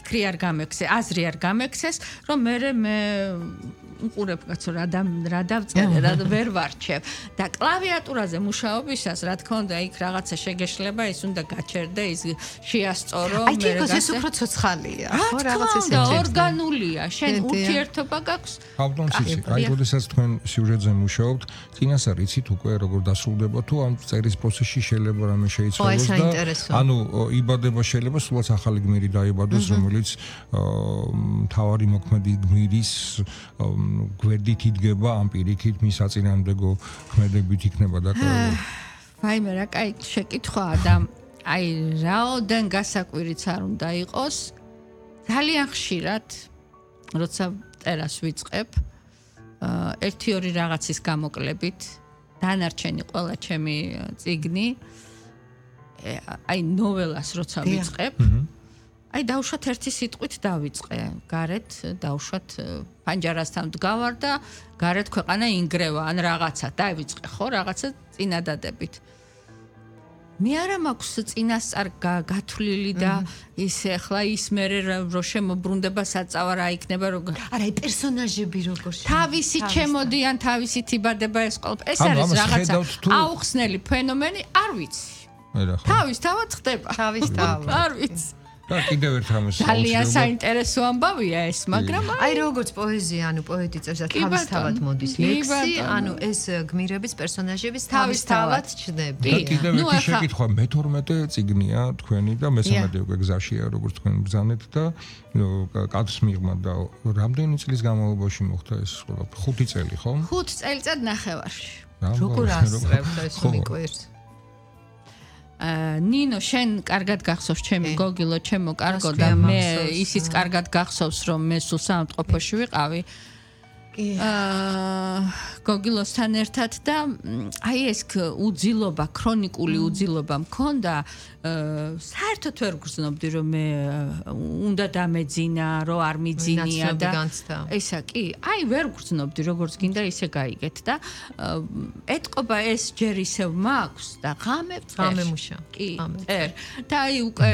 ფიქრი არ გამექცე, აზრი არ გამექცეს, რომ მე უყურებ კაცო რა დავწერე, რა ვერ ვარჩევ და კლავიატურაზე მუშაობისას რა თქმა უნდა იქ რაღაცა შეგეშლება, ის უნდა გაჩერდე, ის შეასწორო, აი თქოს ეს უფრო ცოცხალია, ხო რაღაც ესეთი ორგანულია, შენ ურთიერთობა გაქვს. ავტომატურად, აი როდესაც თქვენ სიუჟეტზე მუშაობთ, წინასწარ იცით უკვე როგორ დასრულდება თუ ამ წერის პროცესში შეიძლება რამე შეიცვალოს და ანუ იბადება შეიძლება სულაც ახალი გმირი დაიბადოს, რომელიც მთავარი მოქმედი გმირის გვერდით იდგება, ამ პირიქით მის საწინააღმდეგო ქმედებით იქნება დაკავებული. ვაიმე რა კაი შეკითხვაა და აი რაოდენ გასაკვირიც არ უნდა იყოს. ძალიან ხშირად როცა წერას ვიწყებ, 1-2 რაღაცის გამოკლებით დანარჩენი ყველა ჩემი წიგნი აი ნოველას როცა ვიწყებ, აი დავუშვათ ერთი სიტყვით დავიწყე. გარეთ დავუშვათ პანჯარასთან ვდგავარ და გარეთ ქვეყანა ინგრევა ან რაღაცა დავიწყე ხო რაღაცა წინადადებით. მე არა მაქვს წინასწარ გათვლილი და ისე ახლა ის მე რო შემოbrunდება საწავა რა იქნება რო არა აი პერსონაჟები როგორ თავისი ჩემოდიან თავისით იბადება ეს ყველაფერი ეს არის რაღაცა აუხსნელი ფენომენი არ ვიცი თავისთავად ხდება თავისთავად არ ვიცი და კიდევ ერთ რამეს ძალიან საინტერესო ამბავია ეს მაგრამ აი როგორც პოეზია ანუ პოეტი წერს და თავისთავად მოდის ლექსი ანუ ეს გმირების პერსონაჟების თავისთავად ჩნდება და კიდევ ერთი შეკითხვა მე-12 წიგნია თქვენი და მე-13 უკვე გზაშია როგორც თქვენ ბრძანეთ და კადრს მიღმა და რამდენი წლის განმავლობაში მოხდა ეს ყველაფერი 5 წელი ხო 5 წელიწად ნახევარში როგორ ასწრებთ ეს მიკვირს ნინო შენ კარგად გახსოვს ჩემი გოგილო ჩემო კარგო და მე ისიც კარგად გახსოვს რომ მე სულ სამწყობოში ვიყავი გოგილოსთან ერთად და აი ეს უძილობა ქრონიკული უძილობა მქონდა საერთოდ ვერ გრძნობდი რომ მე უნდა დამეძინა რომ არ მიძინია და ესა კი აი ვერ გრძნობდი როგორც გინდა ისე გაიგეთ და ეთყობა ეს ჯერ ისევ მაქვს და ღამე მუშა კი და აი უკვე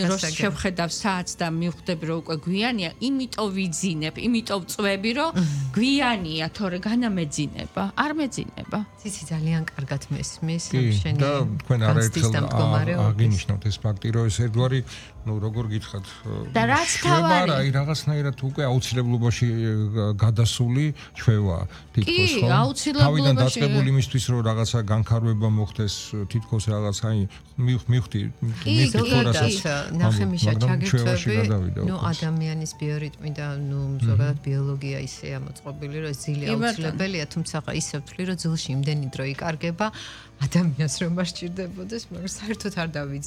რო შევხედავ საათს და მივხვდები რომ უკვე გვიანია იმიტომ ვიძინებ იმიტომ წვები რომ გვიანია თორე განამეძინება არ მეძინება ციცი ძალიან კარგად მესმის შენი და თქვენ არაერთხელ აღინიშნოთ ეს ფაქტი რომ ეს ერთგვარი ну როგორ გითხრათ და რაც თავარი აი რაღაცნაირად უკვე აუცილებლობაში გადასული ჩვევა თითქოს ხო კი აუცილებლობაში თავიდან დაწყებული იმისთვის რომ რაღაცა განხარვება მოხდეს თითქოს რაღაც აი მივხვდი ნახემიშა ჩაგერთვები ну ადამიანის ბიორიტმი და ну ზოგადად ბიოლოგია ისეა მოწყობილი რომ ძილი აუცილებელია თუმცა ისევ ვთვლი რომ ძილში იმდენი დრო იკარგება ადამიანს რომ არ სჭირდებოდეს მაგრამ საერთოდ არ დავიძინე